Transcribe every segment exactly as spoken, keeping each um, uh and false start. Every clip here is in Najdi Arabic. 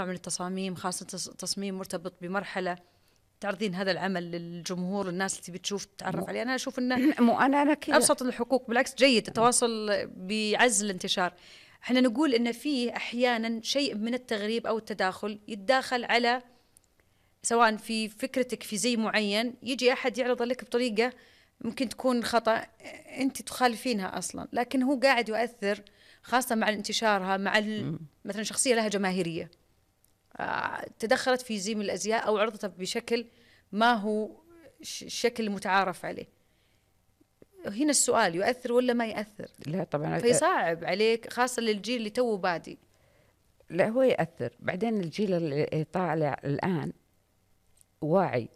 من التصاميم، خاصة تصميم مرتبط بمرحلة تعرضين هذا العمل للجمهور، الناس اللي تبي تشوف تتعرف عليه. أنا أشوف إنه مو أنا أنا كده أبسط الحقوق، بالعكس جيد، التواصل بيعزز الانتشار. إحنا نقول إن فيه أحيانا شيء من التغريب أو التداخل يتداخل على، سواء في فكرتك في زي معين، يجي أحد يعرض لك بطريقة ممكن تكون خطأ أنت تخالفينها أصلا، لكن هو قاعد يؤثر، خاصة مع انتشارها، مع مثلا شخصية لها جماهيرية تدخلت في زي من الأزياء أو عرضتها بشكل ما هو الشكل المتعارف عليه. هنا السؤال، يؤثر ولا ما يؤثر؟ لا طبعا، فيصعب عليك خاصة للجيل اللي توه بادي. لا هو يأثر. بعدين الجيل اللي طالع الآن واعي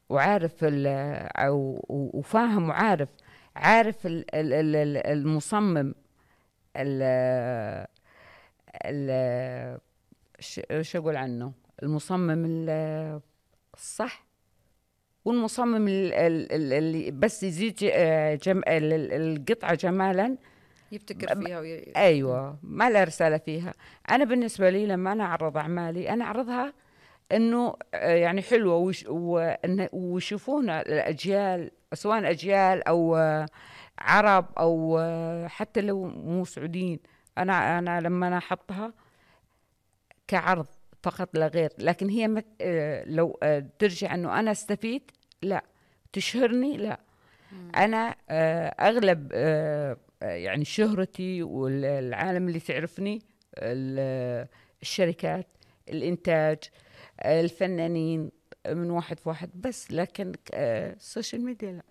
وعارف أو وفاهم وعارف عارف المصمم ال شو أقول عنه، المصمم الصح والمصمم اللي بس يزيد جم القطعة جمالا يبتكر فيها وي... أيوة ما له رسالة فيها. أنا بالنسبة لي لما أنا أعرض أعمالي أنا أعرضها إنه يعني حلوة وش... ويشوفونها الأجيال، سواء أجيال أو عرب أو حتى لو مو سعوديين. أنا أنا لما أنا أحطها كعرض فقط لا غير، لكن هي مت... لو ترجع إنه أنا استفيد، لا تشهرني، لا. م. أنا أغلب يعني شهرتي والعالم اللي تعرفني الشركات، الإنتاج، الفنانين، من واحد في واحد بس، لكن السوشيال ميديا لا.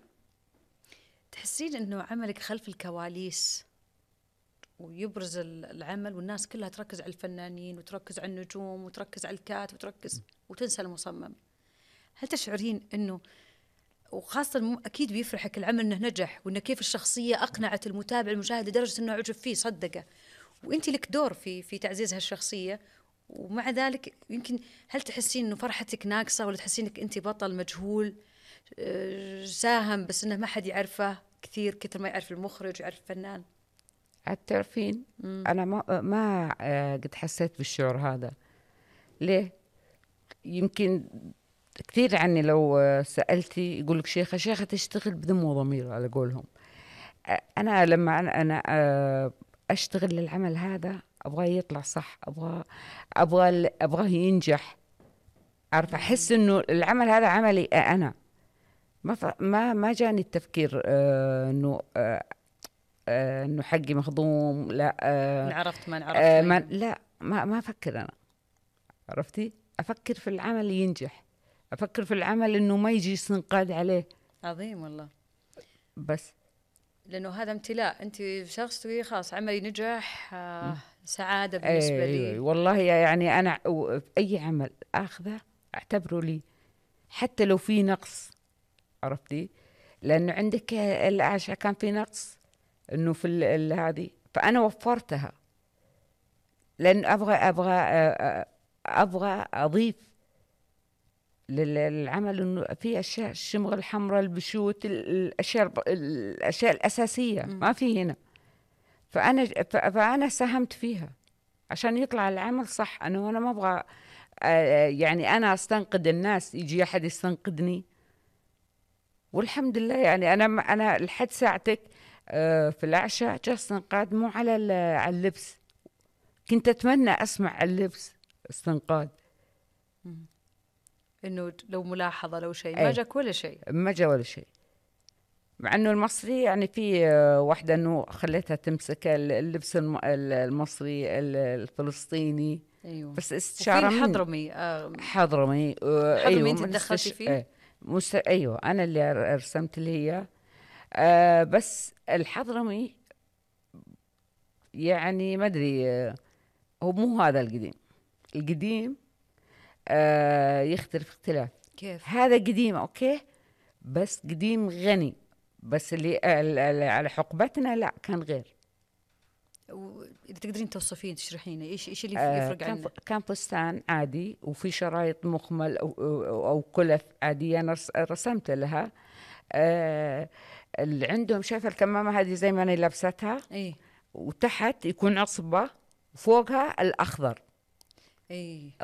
تحسين إنه عملك خلف الكواليس ويبرز العمل والناس كلها تركز على الفنانين وتركز على النجوم وتركز على الكات وتركز وتنسى المصمم، هل تشعرين إنه، وخاصة أكيد بيفرحك العمل إنه نجح وإنه كيف الشخصية أقنعت المتابع المشاهد لدرجة إنه عجب فيه صدقه، وإنتي لك دور في في تعزيز هالشخصية، ومع ذلك يمكن هل تحسين إنه فرحتك ناقصة، ولا تحسين إنك أنت بطل مجهول ساهم بس إنه ما حد يعرفه كثير كثر ما يعرف المخرج ويعرف الفنان؟ تعرفين أنا ما ما قد حسيت بالشعور هذا. ليه؟ يمكن كثير عني لو سألتي يقولك شيخة شيخة تشتغل بدم وضمير على قولهم. أنا لما أنا, أنا أشتغل للعمل هذا أبغاه يطلع صح، أبغاه أبغى أبغاه ينجح. عارفة أحس إنه العمل هذا عملي أنا، ما ما ما جاني التفكير آه إنه آه آه إنه حقي مخضوم، لا آه عرفت ما نعرفت آه ما لا ما ما أفكر أنا. عرفتي؟ أفكر في العمل ينجح، أفكر في العمل إنه ما يجي استنقاد عليه. عظيم والله. بس لأنه هذا امتلاء، أنت شخص تقولي خلاص عملي نجح، آه سعادة بالنسبة أيه لي. والله يعني أنا أي عمل أخذه أعتبره لي حتى لو في نقص. عرفتي؟ لأنه عندك الأعشى كان في نقص إنه في هذه، فأنا وفرتها لأن أبغى أبغى أبغى أضيف للعمل إنه في أشياء الشمغ الحمراء البشوت الأشياء الأشياء الأساسية م. ما في هنا، فأنا فأنا ساهمت فيها عشان يطلع العمل صح. أنا أنا ما أبغى يعني أنا أستنقد الناس، يجي أحد يستنقدني، والحمد لله يعني أنا أنا لحد ساعتك في الأعشاء جاء استنقاد مو على على اللبس، كنت أتمنى أسمع على اللبس استنقاد، إنه لو ملاحظة لو شيء ما جاك ولا شيء، ما جاء ولا شيء. مع إنه المصري يعني في واحدة إنه خليتها تمسك اللبس المصري الفلسطيني. أيوة. بس استشارة من حضرمي آه حضرمي آه أيوة أنت تدخلتي فيه. آه مست... أيوة أنا اللي رسمت اللي هي آه بس الحضرمي يعني ما أدري آه هو مو هذا القديم. القديم آه يختلف اختلاف. كيف؟ هذا قديم أوكي بس قديم غني، بس اللي على حقبتنا لا كان غير. إذا تقدرين توصفين تشرحين إيش إيش اللي آه يفرق عنه؟ كان فستان عادي وفي شرايط مخمل أو, أو, أو كلف عادية أنا رسمت لها. آه اللي عندهم شايفة الكمامة هذه زي ما أنا لابستها إيه؟ وتحت يكون عصبة وفوقها الأخضر. إيه